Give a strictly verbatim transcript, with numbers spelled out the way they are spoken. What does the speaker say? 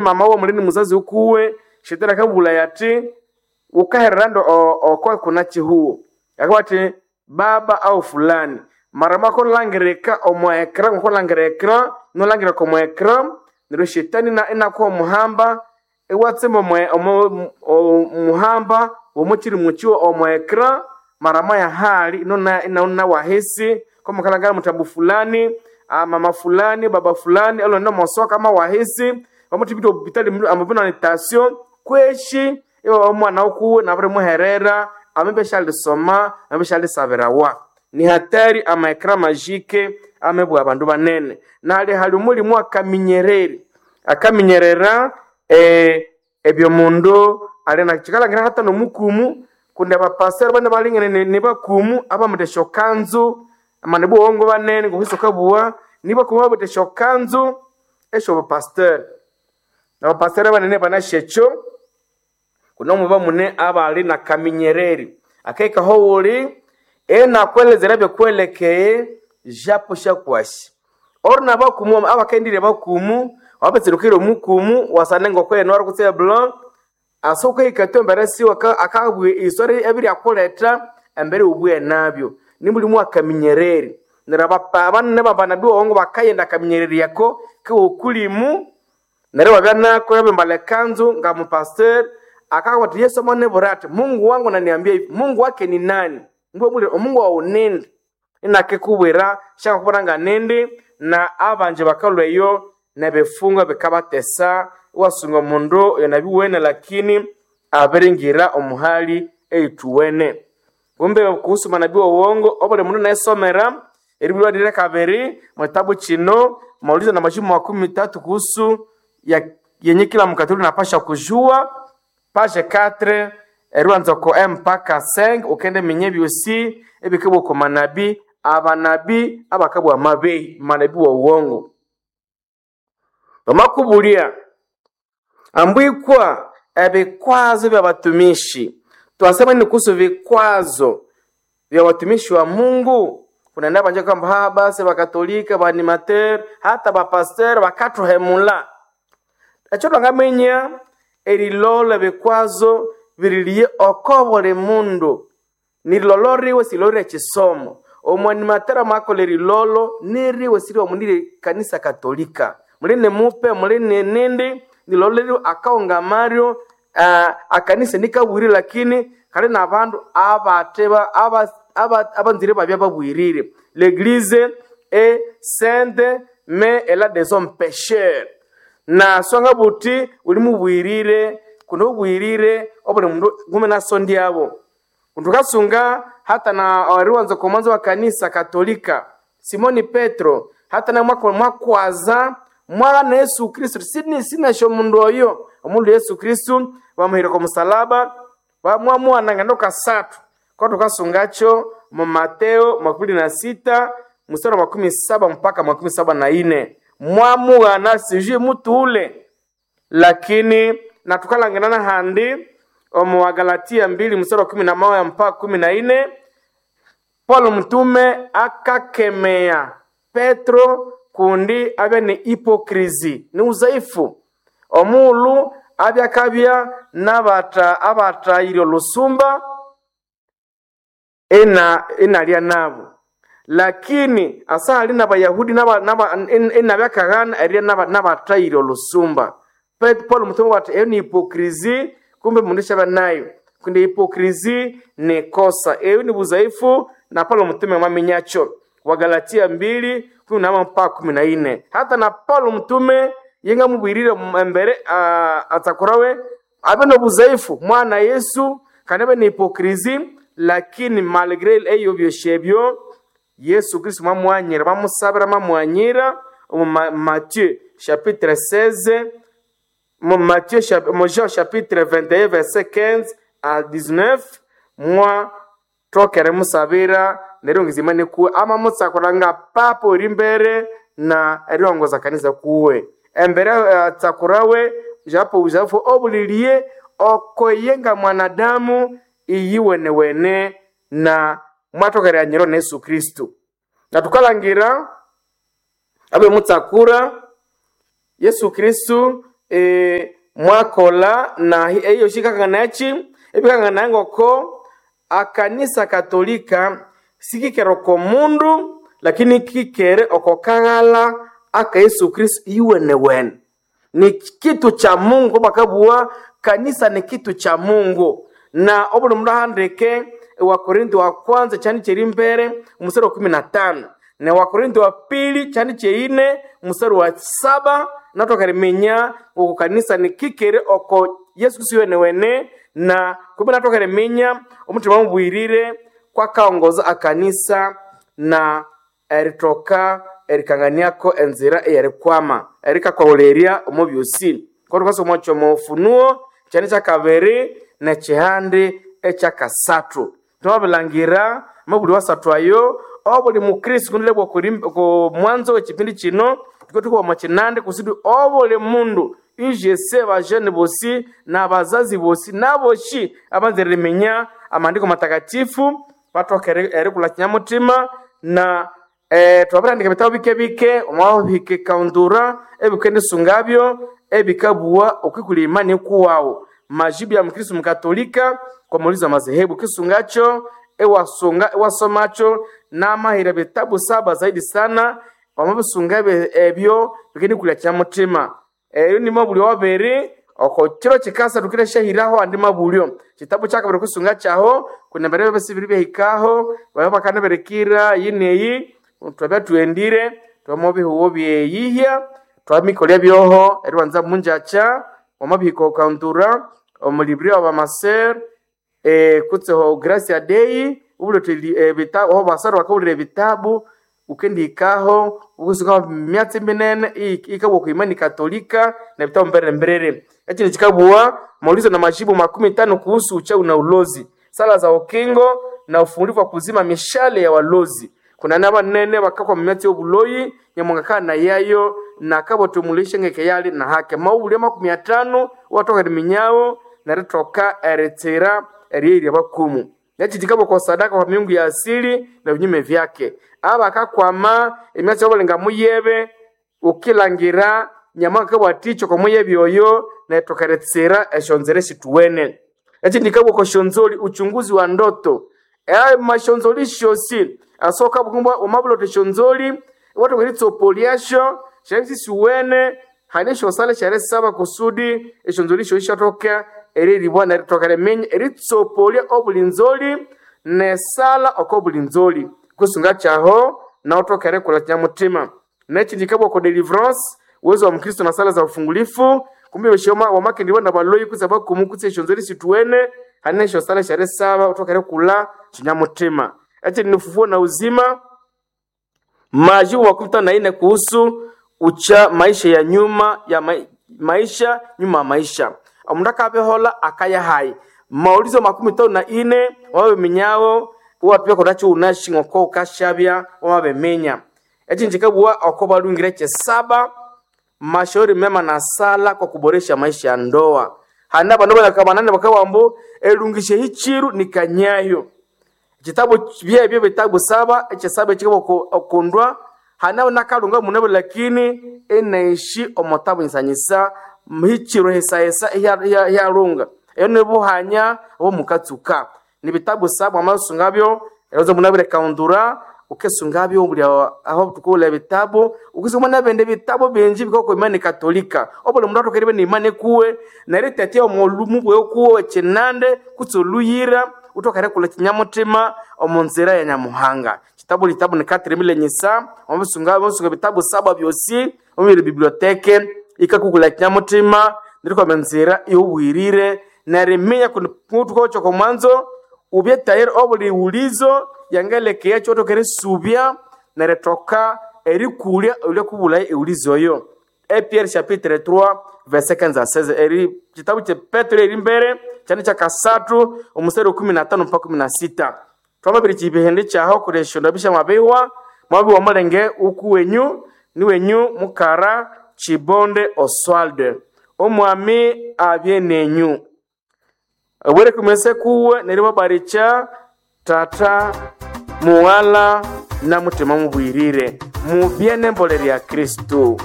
Mama wo mulini muzazi ukuwe shetani akabulaya ati ukaherera ndo okwa kuna chihuo akabati baba au fulani mara makolangirika omu ekra ngokolangira ekra nolangira komu ekra neryo shetani ina- inakuha omuhamba iwatsimba omu- omu- omuhamba womukiri mukiwo omu ekra mara moya hali inona inauna wahisi komukalangala mutambu fulani ah, mama fulani baba fulani alonda mosoka ama wahisi vamuthibita obupitali amabina ni tasio kweshi iwe omwana ukuwe nabirimuherera amebe syalisoma amebe syalisabirawa ni hatari amaekra majike amebwa abandu banene nali hali omulimu akaminyereri akaminyerera eh, ebyomundu ali nakikalangira hata nomukumu kundi abapasere bane balingene ni- nibakumu abamutha esyokanzu amana buwongo banene ngohwisoka buwa nibakumu abamutha esyokanzu esyobupasiteri nabapasiteri banene banasyekyo kuno mune abali na kaminyereri akaikaho wuli enakwelezera byokwelekeye japo syakwasi ori nabakumu abakaendire bakumu wabetserukire omukumu wasane ngokwene wari kutse blanc asa ukahika embere siwe akabwe isori ebiri akuleta embere ubwe nabyo nimulimu akaminyereri neryo abapa- abanene babanabi wongo bakayenda akaminyereri yako kiwokulimu neryo wabya nako yabembala ekanzu nga mupasiteri akakati Yesu amanebura ati Mungu wangu naniambia hivi Mungu wake ni nani mbwe muli omungu wawu nindi inakikubwira syakakubwira nga nindi na abanje bakalwa eyo nebifungo bikabatesa iwasunga omundu oyo nabiwene lakini abiringira omuhali eyithuwene kumbe kuhusu manabii wa uongo obuli mundu naisomera eribulwa lire kabiri mwitabu chino maulizo na majibu makumi tatu kuhusu ya yenye kila mkatoliki napasha kujua page quatre eriwanza ko M mpaka cinq ukende minye byosi ebikibwa ko manabii abanabii abakabwa mabehi manabii wa uongo bamakubulia ambwikwa ebikwazo vya watumishi twasema ni kuhusu vikwazo vya watumishi wa Mungu kunaenda banja kwamba ha basi bakatolika baanimateur hata bapasteur bakathuhemula ekyo twangamenya erilolo ebikwazo biriliye oko buli mundu nirilolo riwe silorire ekisomo omwanimateur amakolha erilolo niriwe siriwe munire kanisa katolika mulini mupe mulini nindi nilolo riwe akaungamaryo uh, akanisa nikabwire lakini kali nabandu abateba aba- aba- abanzire babya babwirire l'église est sainte mais elle a des hommes pécheurs na songa buti uli mubwirire kuno ubwirire obuli mundu ngume nasondyabo kundukasunga hata na ariwanza ku mwanzo wa kanisa katolika simoni petro hata na mwaka mwakwaza mwana yesu kristu sini sinasho mundu oyo omundu yesu kristu bamuhira ku musalaba bamwamuwananga ndo kasatu kwa tukasungacho mu mateo makumi na sita mstari wa makumi saba mpaka makumi saba na ine mwamughana sijui mutu ule lakini na tukalangirana handi omu Wagalatia mbili mstari wa kumi na moja mpaka kumi na ine Paulo mtume akakemea Petro kundi abya ni hipokrizi ni uzaifu omulu abya akabya n'abata abatayire olusumba ina inalya nabo lakini asa ali n'abayahudi n'aba- n'aba- in- inabyakaghana erirya n'aba- n'abatayire olusumba Pet- Paulo mtume wati eyo ni hipokrizi kumbe mundu syaba nayo kundi hipokrizi ni kosa eyo ni buzaifu na Paulo mtume mwaminyakyo Wagalatia mbili kumi na mpaka kumi na ine hata na Paulo mtume yengamubwirire embere uh, atsakurawe abe nobuzaifu mwana Yesu kandi abe ni hipokrizi lakini malgré eyo byosyo ebyo Yesu Kristo mwamwanyira bamusabira mamwanyira omu Ma- Matthieu chapitre seize mu Matthieu chap- mu Jean chapitre vingt et un verset quinze à dix-neuf mwa tokere musabira neryo ngizima nikuwe ama mutsakura nga papa ori mbere na eriongoza kanisa kuwe embere uh, tsakurawe japo uzafu obulilie okoye nga mwanadamu iyiwenewene na mwatokere anyiro na Yesu Kristu na tukalangira abe mutsakura Yesu Kristu e, mwakola na eyo shikakanganachi ebikangana ngoko akanisa katolika sikikere oko mundu lakini kikere oko kaghala aka Yesu Kristo iwenewene ni kitu cha Mungu bakabua kanisa ni kitu cha Mungu na obuli mundu ahandike Wakorintho wa kwanza chani cheri mbere mstari wa kumi na tano na Wakorintho wa pili chani cheine mstari wa saba natokariminya oko kanisa ni kikere oko Yesu Kristo iwenewene na kumbe natokariminya omutima mubwirire kwakaongoza akanisa na eritoka erikanganiako enzira eyerikwama erikakwahulerya omu byosi kotukasoma kyomo Ufunuo kyani kyakabiri nekyihandi ekyakasathu twabilangira mabuli wasathu ayo obuli mukristo kundilebwa ku mwanzo w'ekipindi kino tuko tukuba kinande kusudi obuli mundu ijese bajene bosi na bazazi bosi naboshi abanzire riminya amandiko matakatifu batoka erikula kinyamutima na eh, twabirandika ebitabu bike bike omwabike kaundura ebikendisungabyo ebikabua okwikula imani kuwawu majibu ya mkristo mkatolika kwa maulizo ya madhehebu kisungacho ewasunga ewasomacho namahira bitabu saba zaidi sana wamabisunga ebyo bikendikulia kyamutima eyo ni mabulyo wabiri oko kiro kikasa tukire shahiraho andi mabulyo kitabu kyakabiri kusunga kyaho kunembere bese biri byahikaho baba bakanaberekira yineyi twabya tuendire twamobihuwo byeyihya twamikolya byoho eribanza munjacha wamabihika okauntura omulibri wa bamaser e, kutseho gracia dei ubulete e, bitabu aho basara bakabulira ebitabu ukendihikaho ukusuka myatsi minene ikabwa ku imani katolika na vitabu mbere mberere ekindi kikabua maulizo na majibu makumi tano kuhusu uchawi na ulozi sala za ukingo na ufungulivu wa kuzima mishale ya walozi kuna nabanene bakakwa mumyatsi y'obuloyi nyamwanga na yayo nakabotumulishe ngeke yali na hake maubulya makumi atano watoka riminyawo neritoka eritsira eryeirya bakumu nechitikabo kwa sadaka kwa miungu ya asili na vinyume vyake aba akakwama emyatsi yabalenga muyebe ukilangira nyamwanga kabwaticho kwa muyebe oyo netoka eritsira eshonzere esituwene echindikabwa kwa shonzoli uchunguzi wa ndoto eyo mashonzoli shosi asoka bukumbwa omabulote shonzoli watu kwelitsopolyasho shavisi siwene hane shosale share saba kusudi eshonzoli sho ishatoka eriribwa neritoka remenya eritsopoliya obuli nzoli nesala oko buli nzoli kusunga chaho naotoka erekola kinyamutima nechindikabwa ko deliverance uwezo wa mkristo na sala za ufungulifu kumbe shoma wamakendibwa na baloyi kutsa bakumu kutsa eshonzoli situwene hane shosale share saba otoka erekula kinyamutima echi ni ufufuo na uzima majibu makumi tano na nne kuhusu ucha maisha ya nyuma ya ma, maisha nyuma ya maisha omundu akabihola akaya hayi maulizo makumi tano na ine wabiminyawo wapya konacho unashing'oko ukashabya wamabiminya echi nchikabua oko balungire chesaba mashauri mema na sala kwa kuboresha maisha ya ndoa hana bandu banakabanane bakawambo elungishe hichiru ni kanyayo chitabu byebyo bitabu saba echesaba ekikaba okundwa hanaho nakalunga munebo lakini enaishi omotabu nyisanyisa mhichiro hesahesa hyalunga eyo nibuhanya obwo ni bitabu saba wamasungabyo eroza munabire kaundura ukesungabyo buli aho tukula ebitabu ukisoma nabende bitabu bingi bikoko imani katolika obuli mundu atokeribe ni imani kuwe neritetia omulumu bwe kuwe chinande kutsoluyira utokere kula kinyamutima omu nzira ya nyamuhanga kitabu litabu ni katiri nyisa omusunga omusunga bitabu saba byosi omubiri biblioteke ikakukula kinyamutima nirikoma nzira iubwirire neriminya kutukocho komwanzo ubye tayari obuli ulizo yangelekea kyotokere subya neritoka erikulya ulya kubula eulizo oyo Pierre chapitre trois verset quinze à seize eri kitabu kye Petro eri mbere kyane kya kasatu omuseri wa kumi na tano mpaka kumi na sita twamabiri kibihende kyaho kuresho bisha mwabiwa mwabiwa mulenge uku wenyu ni wenyu mukara chibonde oswalde omwami abye nenyu obwere kumese kuwe neri babaricha tata muwala na mutima mubwirire mubye nembolero ya kristu.